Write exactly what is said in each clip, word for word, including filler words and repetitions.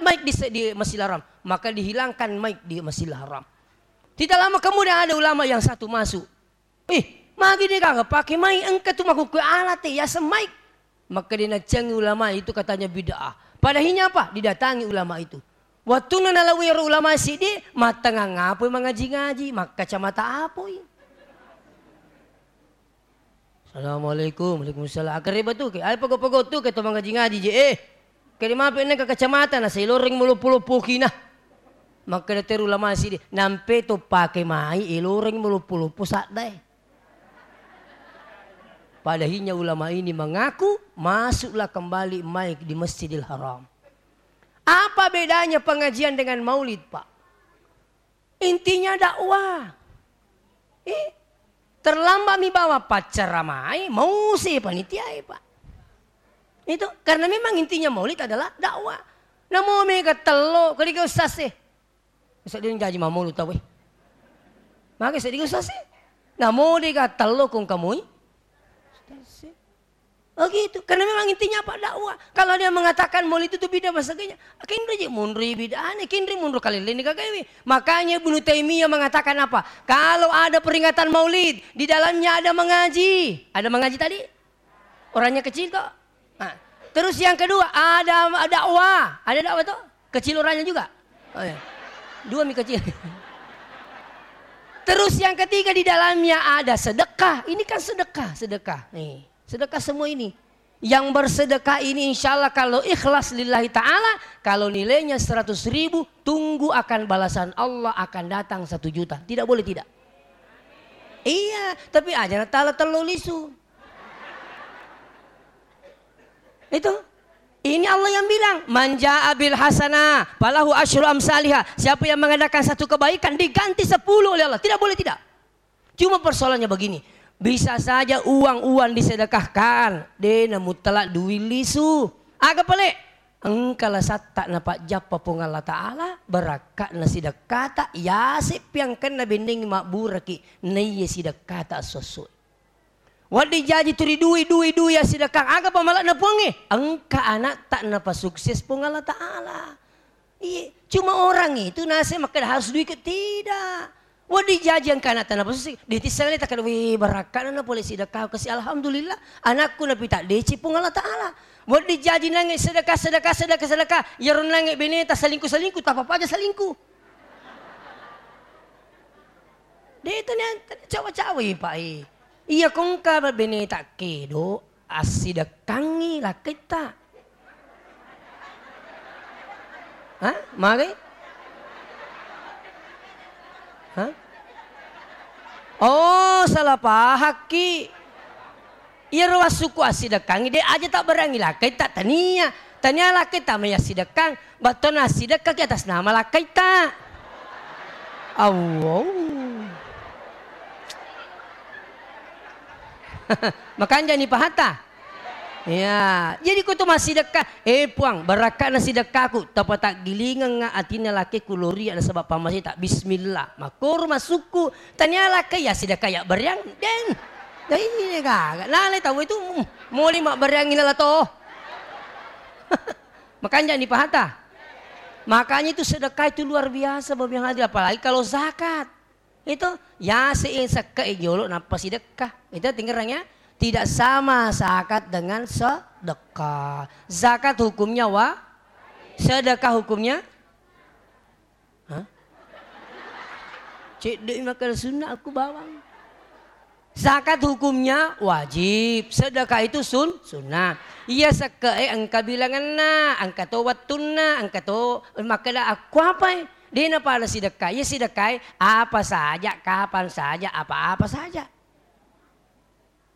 mic di, di Masjidil Haram, maka dihilangkan mic di Masjidil Haram. Tidak lama kemudian ada ulama yang satu masuk. "Ih, magi de gaga pake mic, engka tu makkukue alat e, yaseng mic." Maka dia nacengi ulama itu katanya bid'ah. Padahinya apa? Didatangi ulama itu. Wattunna nalawui ro ulama siddi, mattengang apoi mangaji-ngaji, makkacamata apoi. "Assalamualaikum." "Waalaikumsalam." Akkareba tu ke, ai pego-pego tu ke to mangaji-ngaji je, eh. Kede mape nengka kacamata na seloreng meloppo-loppo kina. Makkeda teru ulama siddi, "Nampe to pake mai eloreng meloppo-loppo saddae." Padahinya ulama ini mengaku, masuklah kembali mai di Masjidil Haram. Apa bedanya pengajian dengan maulid, Pak? Intinya dakwah. Eh, terlambat mi bawa paccaramai, mausi panitiae, Pak. Itu karena memang intinya maulid adalah dakwah. Namo mega tello, kaliga ustaz e. Sedding jaji mamolu tau e. Maka sedding ustaz e. Namo dega tello kong kamui. Ustaz e. Oh gitu, karena memang intinya apa? Dakwah. Kalau dia mengatakan maulid itu bid'ah, masaganya, kinri je munri bid'ah, kinri munri kalilini kagawi. Makanya Ibnu Taimiyah mengatakan apa? Kalau ada peringatan maulid, di dalamnya ada mengaji. Ada mengaji tadi? Orangnya kecil kok. Nah, terus yang kedua, ada dakwah. Ada dakwah tuh? Kecil orangnya juga? Oh, iya. Dua mi kecil. Terus yang ketiga, di dalamnya ada sedekah. Ini kan sedekah, sedekah. Nih. Sedekah semua ini. Yang bersedekah ini insya Allah kalau ikhlas lillahi ta'ala, kalau nilainya seratus ribu, tunggu akan balasan Allah akan datang satu juta. Tidak boleh tidak? Iya, tapi aja na tala tello lisu. Itu. Ini Allah yang bilang, "Man jaa bil hasanah falahu asyru amsaliha." Siapa yang mengadakan satu kebaikan diganti sepuluh oleh Allah. Tidak boleh tidak. Cuma persoalannya begini, bisa saja uang-uang disedekahkan, de na mutlak duit lisu. Aga pale? Engka lasatta napajjappa Puang Allah Ta'ala, barakka'na sidekkata, yase piangkenna bennengngi mabburaki, naiya sidekkata esso-essoe. Wedding jaji tu ri dui, dui, dui assidekkang, aga pamala'na Puangnge? Engka anakta napasukses Puang Allah Ta'ala. Iya, cuma orang itu nasib makkeda harus duit ke, tidak. Wedding jaji engka anakta napasukses, ditisseng le takkeda, "Wih, barakka'na na pole sidekka kasi, alhamdulillah, anakku napita deci Puang Allah Ta'ala." Wedding jaji nange sedekah, sedekah, sedekah, sedekah, iyaro nange beneta selingkuh, selingkuh, tapapa aja selingkuh. De' tania cawa-cawa i, Pak, i. Iya ko engka beneta kedo, assidekkangngi lakkaitta. Hah? Magi? Hah? Oh, salah pahakki. Iyaro wassukku assidekkangngi, de' aja tabbareangngi lakkaitta, tania. Tania lakkaitta mai assidekkang, battona assidekkaki atas nama lakkaitta. Awwau. Makanjani pahatta? Iya. Jadi ko tu massidekka, "Eh, Puang, barakka'na sidekkaku, tapataggilingengnga atinna lakkaiku loria nasaba pammaseta." Bismillah. Makkoro massukku. Tania lakkai ya sidekka ya beriang, deng. Jadi gaga. Nalai tau itu, mm, moli mabberiangi nala to. Makanjani pahatta? Makanya itu sedekah itu luar biasa, Bapak yang hadir, apalagi kalau zakat. Itu yase sekke'e jolo nappa sidekka. Itu tingerang ya. Tidak sama zakat dengan sedekah. Zakat hukumnya wa-, sedekah hukumnya Hah? Cedde'i makkeda sunnah, aku bawang. Zakat hukumnya wajib, sedekah itu sun-, sunnah. Iya sekke'e engka bilangenna, engka to wettunna, engka to makkeda, "Akkuapai?" De' napada sidekka. Iya sidekkae apa saja, kapan saja, apa-apa saja.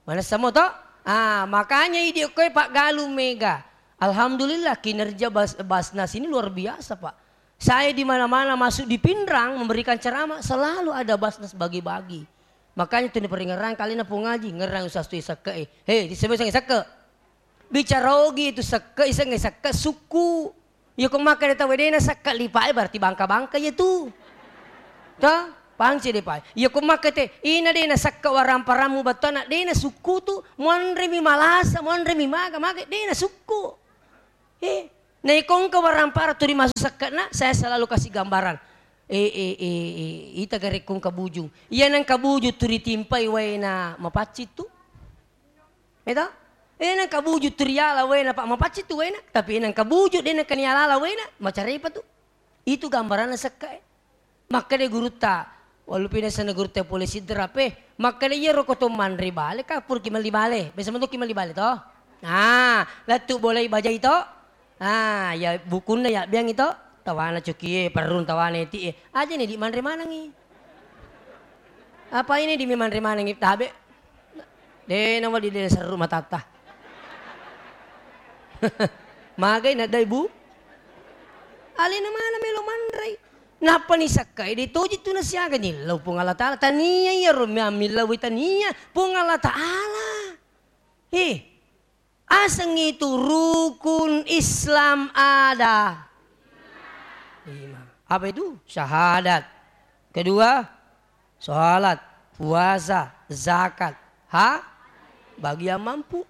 Manessa mo to? Ah, makanya idi okkoe paggalung mega. Alhamdulillah, kinerja Bas-, Basnas ini luar biasa, Pak. Saya di mana-mana masuk di Pinrang memberikan ceramah, selalu ada Basnas bagi-bagi. Makanya tu diperingerang kalena Puang Haji, ngerang usah tu sekke'e. Hei, disebut sekke. Bicara ogi itu sekke, isengnge sekke, sukku. Iya ko makkeda tau de' nasekke lipa'e, berarti bangka-bangka iya tu. Toh? Paham cedde pae. Iya ko makkeda te, ina de' nasekke waramparammu battuanna, de' nasukku tu, muanremi malasa, muanremi maga, maga, de' nasukku. Eh, Naiko engka warampara tuli massu sekke'na, saya selalu kasih gambaran. Eh, eh, eh, eh, ita garekkong kabujung. Iya nang kabujung tu ritimpai waena mapaccing tu. Eta? Eh, nang kabujung tu riala waena, Pak, mapaccing tu waena. Tapi nang kabujung de' nang kanialala waena, macarepa tu. Itu gambaranna sekke'e. Makkeda gurutta, walupi nasenna gurutta pole siddera pe, makkeda, "Iyaro ko to manre bale, kapurki melli bale." Biasa metoki melli bale to? Nah, lettu bolai bajai to? Ah, ya bukunna ya biangi to? Tawana cokie, perrung tawana eti e. Aja ni di manre manengi. Apa ini di manre manengi tabe? De' nawali de' serru matatta. Magai nadai bu? Alena mana melo manrei? Nappa ni sakkai de' toji tu nasiaga nillau Puang Allah Ta'ala. Tania iyaro mia millau tania Puang Allah Ta'ala. He, aseng itu rukun Islam ada lima. Apa itu? Syahadat. Kedua, salat, puasa, zakat, ha? Bagi yang mampu.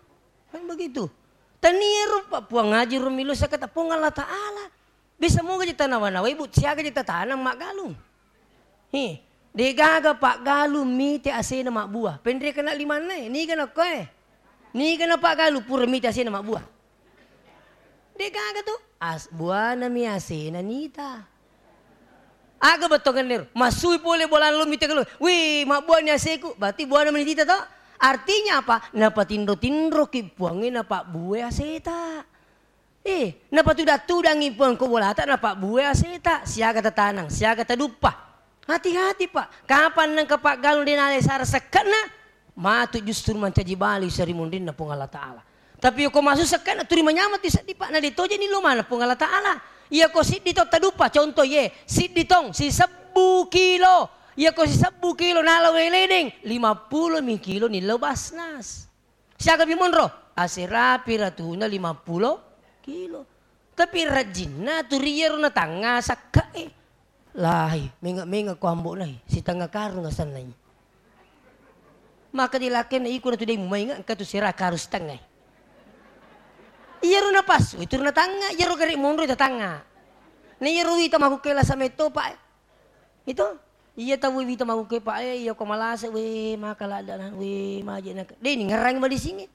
Kan begitu. Tania rupa Puang Haji Rumilo sakata Puang Allah Ta'ala. Bisa moga je tanawa-nawai, Bu, siaga je tatanang maggalung. Hi, degaga paggalung mite asena mabbua. Penre kena limanna e, niga nakko e. Niga na paggalung pura mite asena mabbua. Degaga tu, as-, buana mi asena nita. Aga bettongenna ero? Massui pole bolang lo mite kalo. Wih, mabbuani aseku. Berarti buana menitita to? Artinya apa? Napatinro-tinroki Puangnge napabbue aseta. Eh, napatudang-tudangi Puang ko bolata napabbue aseta. Siaga tatanang, siaga taduppa. Hati-hati, Pak. Kapan nengka paggalung de' nalai sara sekke'na, matu justru mancaji bali seri munrinna Puang Allah Ta'ala. Tapi ko massu sekke'na tuli manyameng tu seddi, Pak, na de' tojeni lo maneng Puang Allah Ta'ala. Iya ko siddi tong taduppa, contoh ye, siddi tong sisebbu kilo. Iya ko sisebbu kilo nala wae ledeng, lima pulo mi kilo nillau Basnas. Siaga mi monro? Aserapi ratuna lima pulo kilo. Tapi rajinna tu ri iyaro natangnga sakke'e. Lahi, menga-menga ko ambo'na i, sitengnga karung asennai. Maka dilakkena iko natu dai mumainga engka tu sera karung sitengnga i. Iyaro napassu, itu natangnga, iyaro gare monro tatangnga. Na iyaro wita makkukkue lasa metto, Pak, e. Itu? Iya tau wita makkukkue, Pak, e, iya ko malasa, we, maka ladda na, we, maje na. De' ningerang madisingnge.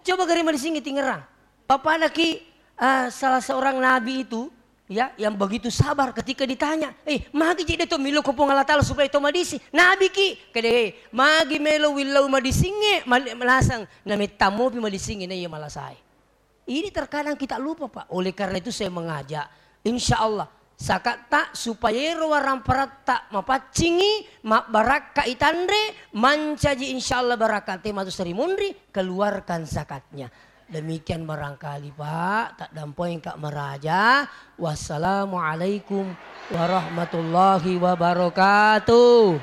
Coba gare madisingnge tingerang. Papana ki, eh, salah seorang nabi itu, ya, yang begitu sabar ketika ditanya, "Eh, magi je de' to milo ko Puang Allah Ta'ala supaya to madising?" Nabi ki, kede, "Eh, magi melo willau madisingnge, mal-, malasang, na mettammopi madisingnge na iya malasae." Ini terkadang kita lupa, Pak. Oleh karena itu saya mengajak, insya Allah, sakatta supaya ero waramparatta mapaccingi, mabbarakka itanre, mancaji insya Allah barakate matu seri munri, keluarkan zakatnya. Demikian barangkali, Pak, taddampoeng ka maraja. Wassalamualaikum warahmatullahi wabarakatuh.